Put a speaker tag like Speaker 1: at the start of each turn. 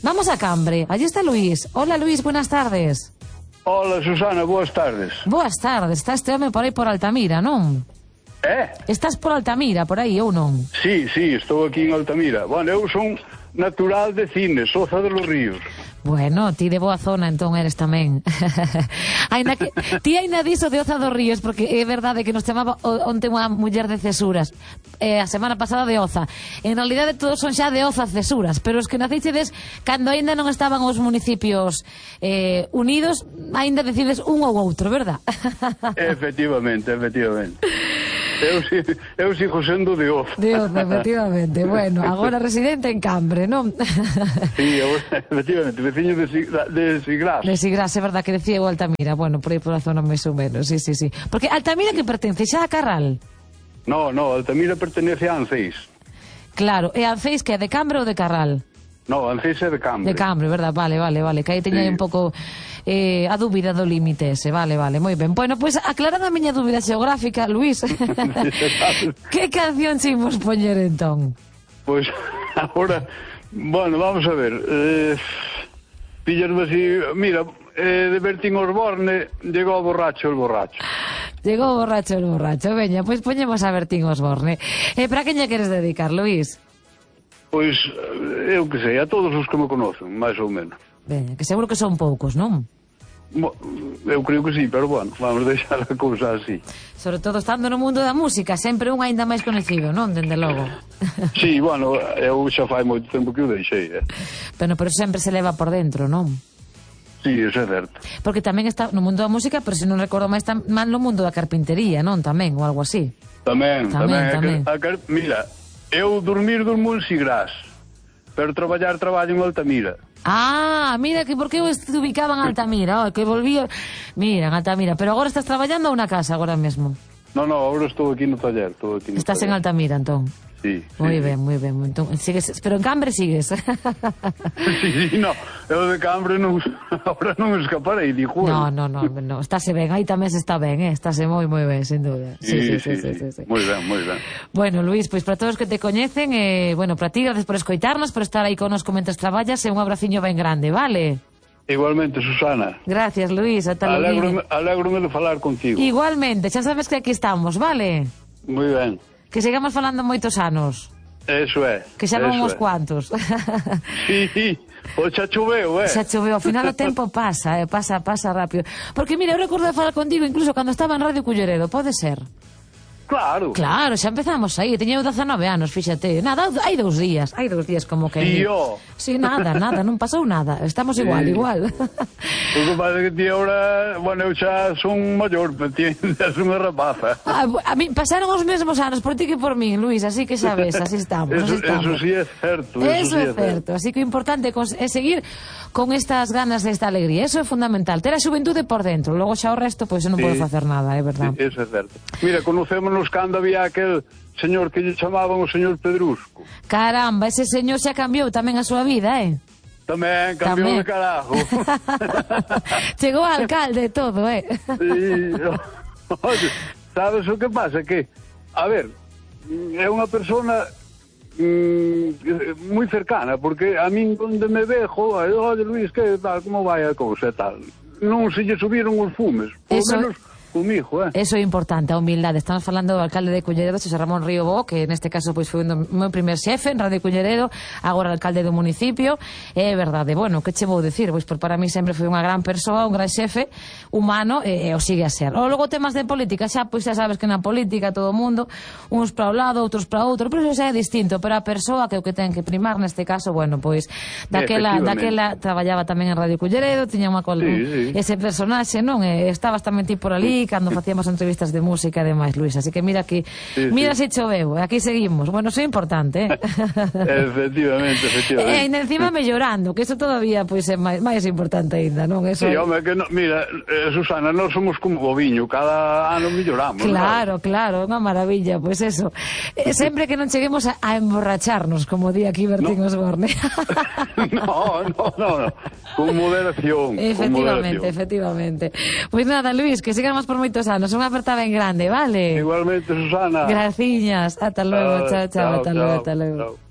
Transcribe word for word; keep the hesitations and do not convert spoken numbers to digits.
Speaker 1: Vamos a Cambre, allí está Luis. Hola Luis, buenas tardes.
Speaker 2: Hola Susana, boas tardes.
Speaker 1: Boas tardes, está este home por aí por Altamira, non?
Speaker 2: Eh?
Speaker 1: Estás por Altamira, por aí, ou non?
Speaker 2: Sí, sí, estou aquí en Altamira. Bueno, eu son natural de Cines, Oza de los Ríos.
Speaker 1: Bueno, ti de boa zona entón eres tamén. Aina que, ti aina diso de Oza dos Ríos, porque é verdade que nos chamaba onte unha muller de Cesuras, eh, a semana pasada de Oza. En realidade todos son xa de Oza Cesuras, pero os que nacichedes cando aínda non estaban os municipios eh, unidos, aínda decides un ou outro, verdad?
Speaker 2: Efectivamente, efectivamente. Eu, eu sigo sendo de Oza.
Speaker 1: De Oza, efectivamente. Bueno, agora residente en Cambre, non?
Speaker 2: Sí, efectivamente, veciño de, de Sigrás.
Speaker 1: De Sigrás, é verdad que decía o Altamira. Bueno, por aí por a zona máis ou menos, sí, sí, sí. Porque Altamira que pertence xa a Carral?
Speaker 2: No, no, Altamira pertenece a Anceis.
Speaker 1: Claro, e Anceis que é de Cambre ou de Carral?
Speaker 2: No, Anceis é de Cambre.
Speaker 1: De Cambre, verdad, vale, vale, vale. Que aí teña sí. un pouco eh, a dúbida do límite ese, vale, vale, moi ben. Bueno, pois pues, aclarada a miña dúbida xeográfica, Luís, que canción se imos poñer entón?
Speaker 2: Pois, pues, agora, bueno, vamos a ver, eh, pillasme así, mira, eh, de Bertín Osborne, llegou borracho el borracho.
Speaker 1: Llegou borracho el borracho, veña, pois pues poñemos a Bertín Osborne. Eh, para que lle queres dedicar, Luís?
Speaker 2: Pois, eu que sei, a todos os que me conocen, máis ou menos.
Speaker 1: Ben, que seguro que son poucos, non?
Speaker 2: Mo, eu creo que sí, pero bueno, vamos deixar a cousa así.
Speaker 1: Sobre todo estando no mundo da música, sempre un aínda máis conhecido, non? Dende logo.
Speaker 2: Sí, bueno, eu xa fai moito tempo que o deixei, eh.
Speaker 1: Pero, pero sempre se leva por dentro, non?
Speaker 2: Sí, eso é certo.
Speaker 1: Porque tamén está no mundo da música, pero se non recordo máis tan mal no mundo da carpintería, non? Tamén, ou algo así.
Speaker 2: Tamén, tamén.
Speaker 1: tamén.
Speaker 2: A, a, mira, eu dormir durmo en Sigrás, pero traballar traballo en Altamira.
Speaker 1: Ah, mira que por que eu te ubicaba en Altamira, oh, que volví, mira, en Altamira, pero agora estás traballando a unha casa agora mesmo.
Speaker 2: No, no, agora estou aquí no taller, estou aquí no
Speaker 1: Estás
Speaker 2: taller.
Speaker 1: En Altamira, entón.
Speaker 2: Sí,
Speaker 1: moi
Speaker 2: sí,
Speaker 1: ben, moi ben. Entón, sigues, pero en Cambre sigues.
Speaker 2: Sí, sí, no, eu de Cambre non, ahora non escaparei, dijo.
Speaker 1: No, no, no, no, estáse ben, aí tamén se está ben, eh? Estáse moi, moi ben, sin dúda.
Speaker 2: Sí, sí, sí, sí, sí, sí, sí. Moi ben, moi ben.
Speaker 1: Bueno, Luís, pois pues, para todos que te coñecen, eh, bueno, para ti, gracias por escoitarnos, por estar aí conosco mentres traballas, e un abraciño ben grande, vale?
Speaker 2: Igualmente, Susana.
Speaker 1: Gracias, Luís, ata logo.
Speaker 2: Alégrome de falar contigo.
Speaker 1: Igualmente, xa sabes que aquí estamos, vale?
Speaker 2: Moi ben.
Speaker 1: Que sigamos falando moitos anos.
Speaker 2: Eso é.
Speaker 1: Que xa van uns
Speaker 2: é.
Speaker 1: cuantos.
Speaker 2: Sí, o xa choveu, eh?
Speaker 1: Xa choveu, ao final o tempo pasa, eh? pasa, pasa rápido. Porque, mira, eu recordo de falar contigo incluso cando estaba en Radio Culleredo, pode ser?
Speaker 2: Claro.
Speaker 1: Claro, xa empezamos aí, teña eu dezanove anos, fíxate. Nada, hai dous días, hai dous días como que...
Speaker 2: Tío.
Speaker 1: Sí, nada, nada, non pasou nada. Estamos igual, sí. igual.
Speaker 2: O que pasa que ti ahora, bueno, eu xa son maior, me entiendes, unha rapaza.
Speaker 1: A, a mí pasaron os mesmos anos por ti que por mí, Luís, así que sabes, así estamos,
Speaker 2: eso,
Speaker 1: así estamos.
Speaker 2: Eso sí é certo.
Speaker 1: Eso,
Speaker 2: eso sí
Speaker 1: é certo, así que o importante é seguir con estas ganas desta alegría, eso é fundamental, ter a xuventude por dentro, logo xa o resto, pois pues, non sí. podo facer nada, é verdade.
Speaker 2: Sí, eso é certo. Mira, conocémonos cando había aquel señor que lle chamaban o señor Pedrusco.
Speaker 1: Caramba, ese señor xa cambiou tamén a súa vida, eh?
Speaker 2: Tamén, cambiou de carajo.
Speaker 1: Chegou alcalde e todo, eh?
Speaker 2: Sí. Oye, sabes o que pasa? Que, a ver, é unha persona mm, moi cercana, porque a min onde me ve, joder, oye Luís, que tal, como vai a cousa e tal. Non se lle subiron os fumes, por
Speaker 1: Eso...
Speaker 2: menos... comigo, eh?
Speaker 1: Eso é importante, a humildade. Estamos falando do alcalde de Culleredo, Xosé Ramón Río Bo, que neste caso pois foi o meu primer xefe en Radio Culleredo, agora alcalde do municipio. É verdade, bueno, que che vou dicir? Pois por para mí sempre foi unha gran persoa, un gran xefe humano, e, e o sigue a ser. O logo temas de política, xa pois xa sabes que na política todo o mundo, uns para o lado, outros para outro, pero eso xa é distinto, pero a persoa que o que ten que primar neste caso, bueno, pois daquela, daquela traballaba tamén en Radio Culleredo, tiña unha col... sí, sí. ese personaxe, non? E estabas tamén ti por ali cando facíamos entrevistas de música e demais, Luís, así que mira aquí, sí, mira sí. se choveu, aquí seguimos. Bueno, eso é importante, eh?
Speaker 2: Efectivamente, efectivamente.
Speaker 1: E ainda encima mellorando, que eso todavía pois é máis, máis importante ainda, non? Eso...
Speaker 2: Sí, home, que no, mira, eh, Susana, nós somos como o viño, cada ano melloramos.
Speaker 1: Claro,
Speaker 2: ¿no?
Speaker 1: claro, unha maravilla, pois pues eso. Eh, sempre que non cheguemos a, a emborracharnos, como di aquí Bertín no. Osborne.
Speaker 2: no, no, no, no, con moderación.
Speaker 1: Efectivamente,
Speaker 2: con moderación.
Speaker 1: efectivamente. Pois pues nada, Luís, que sigamos por moitos anos, unha aperta ben grande, vale?
Speaker 2: Igualmente, Susana.
Speaker 1: Graciñas, ata logo, chao, chao,
Speaker 2: chao,
Speaker 1: ata
Speaker 2: chao,
Speaker 1: logo, ata logo.
Speaker 2: Chao.